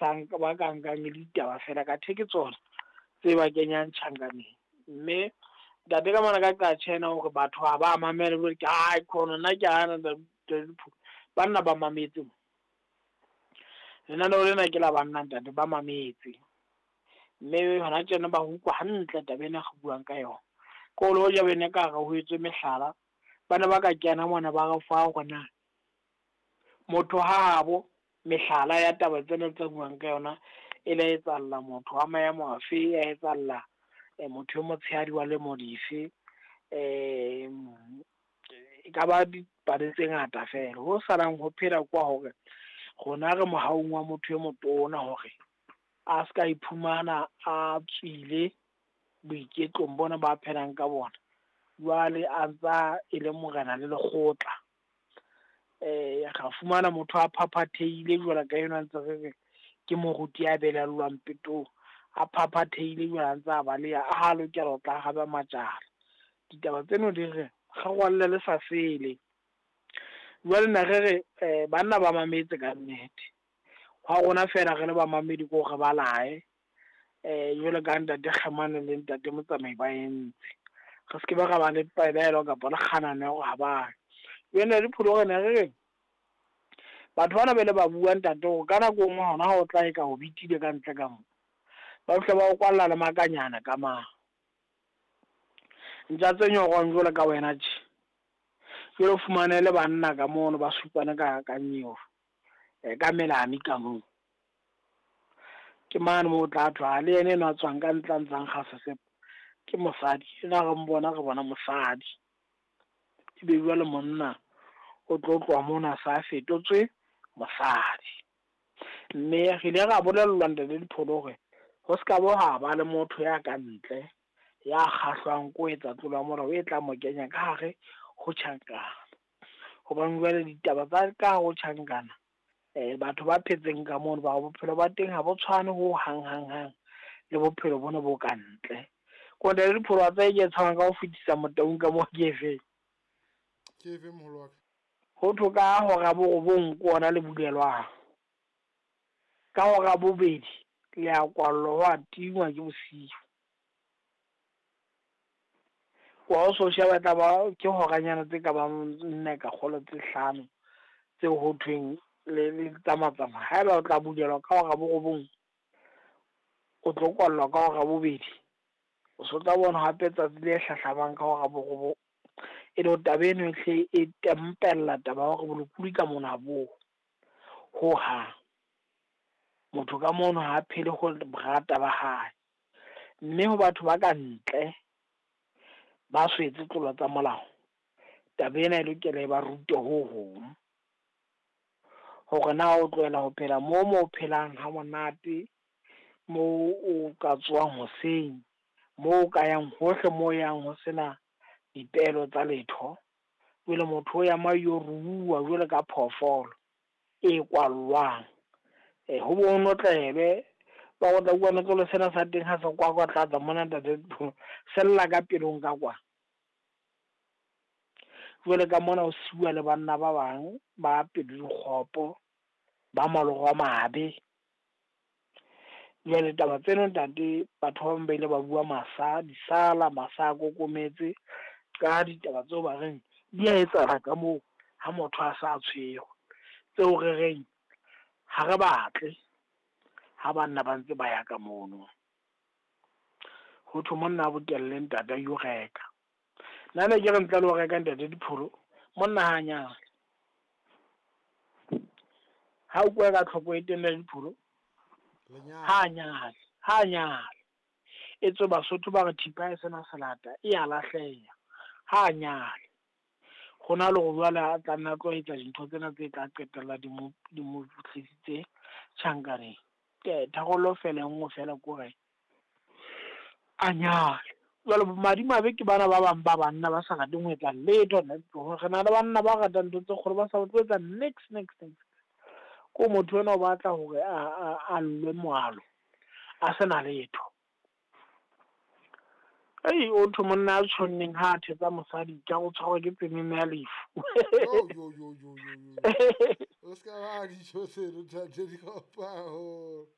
Ba ka nkang e le ditaba feela kathe ke tsona tse ba kenyang tjhankaneng. Mme ntate ka mona ka qa tjhena hore batho ha ba mamele jwale ke aikhona nna ke hana ntate. Banna ba mametse mo. Lenaneo lena ke la banna ntate, ba mametse. Mme hona tjena ba utlwa hantle taba ena re buang ka yona. Ko le hoja bene ka re ho etswe mehlala, ba ne ba ka kena mona ba re fa hore na motho habo mehlala ya taba tsena tse buang ka yona e la etsahalla motho wa maemo afe, ya etsahalla motho e motshehadi wa lemo dife. E ka ba dipale tse ngata feela. Ho salang ho phela kwa hore rona re mohaung wa motho e motona hore a ska iphumana a tswile boiketlong bona ba phelang ka bona. Jwale a ntsa e le morena le lekgotla. Ra fumana motho a phaphathehile jwalo ka enwa ntse re re ke moruti ya belellwang petong. A phaphathehile jwale a ntse a baleha, a ha lokela ho tla haba matjana. Ditaba tseno di re re rwalle le sa sele. Jwale ne re re banna ba mametse ka nnete. Hwa rona feela re le bamamedi ke hore ba lae, jwalo ka ntate Kgemane le ntate Motsamai ba entse. Re se ke be ra ba le pelaelo kapa le kganano ya hore ha ba. Jwale Dipholo ne re re batho bana ba ile ba bua ntate hore ka nako e nngwe hona ha o tla eka o bitile ka ntle ka mo, ba fihla ba o kwalla le makanyana ka mane. Ntja tse nyorwang jwalo ka wena tje. Jwale o fumane le banna ka mono ba supane ka nyeo, ka melami ka moo. Ke mane moo o tla thwa le yena enwa a tswang ka ntle a ntsang kga sesepa ke mosadi. Ena re mbona re bona mosadi. Ebe jwale monna o tlo tloha mona a sa fetotswe mosadi. Mme re ile ra bolellwa ntate Dipholo hore ho ska bo ha ba le motho ya ka ntle ya kgahlwang ko etsa tlolo ya molao e tla mo kenya ka hare ho tjhankana. Hobane jwale ditaba tsa ka hare ho tjhankana, batho ba phetseng ka mono ba bophelo ba teng ha bo tshwane ho hang hang hang le bophelo bona bo ka ntle. Ko ntate Dipholo wa tseba e ke e tshabang ka ho fetisa Motaung ka moo ke efeng? Ke efeng moholo wa ka? Ho thwe ka hora borobong ke ona le bulelwang. Ka hora bobedi le a kwallwa ho a tingwa ke bosiu. Wa o so sheba tla ba ke horanyana tse ka bang nne ka kgolo tse hlano tseo ho thweng le tsamatsamaya. Haeba o tla bulelwa ka hora borobong, o tlo kwallwa ka hora bobedi. O so tla bona hape tsatsi le hlahlamang ka hora borobong. E le taba eno e hle e tempella taba ya hore bolokolohi ka mona bo ho hang. Motho ka mono ha phele ho borata ba hae. Mme ho batho ba ka ntle ba so etse tlolo tsa molao, taba ena e lokela e ba rute ho hong. Hore na o tlohela ho phela moo mo phelang ha monate, moo o ka tsohang hoseng, moo o ka yang hohle moo yang ho sena dipehelo tsa letho. Jwale motho o ya ma yo ruuwa jwalo ka phoofolo e kwallwang. Ho bo notlelwe, ba o tla utlwa notlolo sena sa teng ha se kwakwatlatsa mona ntate sella ka pelong ka kwa. Jwale ka mona o siuwa le banna ba bang ba pelo di kgopo, ba maloro a mabe. Jwale taba tseno ntate, batho ba bang ba ile ba bua masa disala, masa a kokometse ka ditaba tseo ba reng di a etsahala ka moo ha motho a sa tshwerwe. Tseo re reng ha re batle ha banna ba ntse ba ya ka mono. Ho thwe monna a bokelle ntate a yo reka. Nna ne ke re ntle le ho reka ntate Dipholo, monna ha nyale. Ha o ka tlhoko e teng ntate Dipholo, ha nyale, ha nyale. Etswe Basotho ba re thipa e sena selata e ya lahleha. Ha nyale. Hona le hore jwale a tla nna tlo etsa dintho tsena tse tla qetella di mo tlisitse tjhankaneng. Tharollo feela e nngwe feela ke hore a nyale. Jwale bomadimabe ke bana ba bang ba banna ba sa rateng ho etsa letho. Re na le banna ba ratang ntho tse kgolo ba sa batle ho etsa niks niks niks. Ko motho enwa o batla hore a llwe moalo a sena letho. Ei, o thwe monna a tjhonneng ha a thetsa mosadi ka o tshwarwa ke tsenene ya lefu. Yo yo yo yo yo. O ska ba dijo tseno ntate di haholo.